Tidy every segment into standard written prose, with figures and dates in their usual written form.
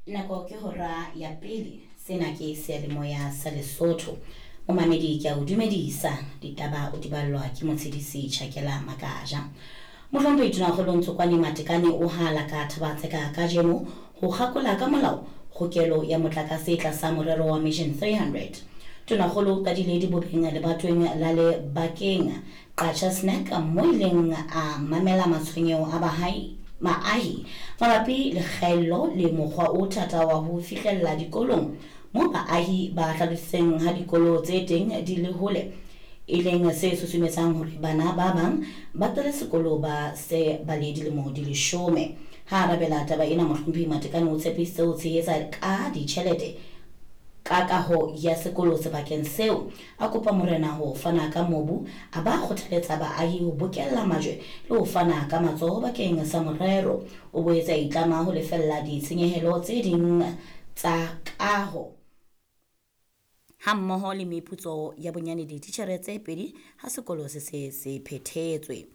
Nako ke hora ya pele. Sena ke seyalemoya sa Lesotho. Momamedi ke a o dumedisa. Ditaba o di ballwa ke Motshedisi Chakela Makaja. Mohlomphehi Tonakgolo Ntsokwane Matekane o hala ka Thabatseka kajeno ho kgakola ka molao kgokelo ya motlakase tlasa morero wa Mission 300. Tonakgolo o qadile dibobeng lebatoweng la Lebakeng Qacha Snack mo ileng a mamela matshwenyeho a bahai, baahi mabapi le kgaello le mokgwa o thata wa ho fihlella dikolong moo baahi ba hlalositseng ha dikolo tse teng di le hole e leng se susumetsang hore bana ba bang ba qele sekolo ba se ba le dilemo di leshome. Ha arabela taba ena Mohlomphehi Matekane o tshepisitse ho tshehetsa ka ditjhelete ka kaho ya sekolo sebakeng seo. A kopa morena ho fana ka mobu, a ba kgothaletsa baahi ho bokella majwe le ho fana ka matsoho bakeng sa morero. O boetse a itlama ho lefella ditshenyehelo tse ding tsa kaho hammoho le meputso ya bonyane dititjhere tse pedi ha sekolo se se se phethetswe.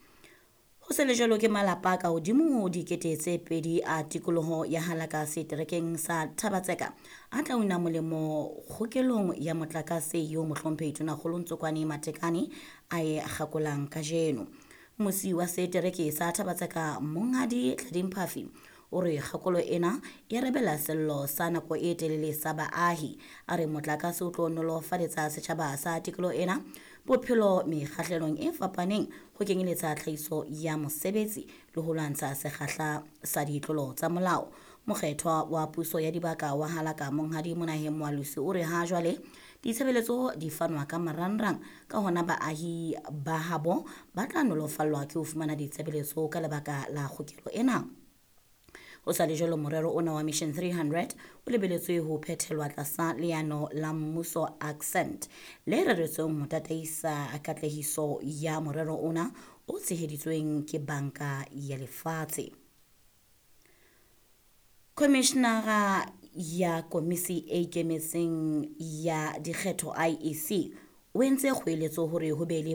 Ho se le jwalo ke malapa a ka hodimo ho 2000 a tikoloho ya Halaka seterekeng sa Thabatseka a tla una molemo kgokelong ya motlakase eo Mohlomphehi Tonakgolo Ntsokwane Matekane a e kgakolang kajeno. Mmusi wa setereke sa Thabatseka Monghadi Tlading Phafi o re kgakolo ena e arabela sello sa nako e telele sa baahi. A re motlakase o tlo nolofaletsa setjhaba sa tikoloho ena bophelo mekgahlelong e fapaneng ho kenyeletsa tlhahiso ya mosebetsi le ho lwantsha sekgahla sa ditlolo tsa molao. Mokgethwa wa puso ya dibaka wa Halaka Monghadi Monaheng Moalusi o re ha jwale ditshebeletso di fanwa ka marangrang, ka hona baahi ba habo ba tla nolofallwa ke ho fumana ditshebeletso ka lebaka la kgokelo ena. Ho sa le jwalo morero ona wa Mission 300 o lebeletswe ho phethelwa tlasa leano la mmuso Accent le reretsweng ho tataisa katlehiso ya morero ona o tsheheditsweng ke Banka ya Lefatshe. Khomishenara ya Komisi e Ikemetseng ya Dikgetho IEC o entse kgoeletso hore ho be le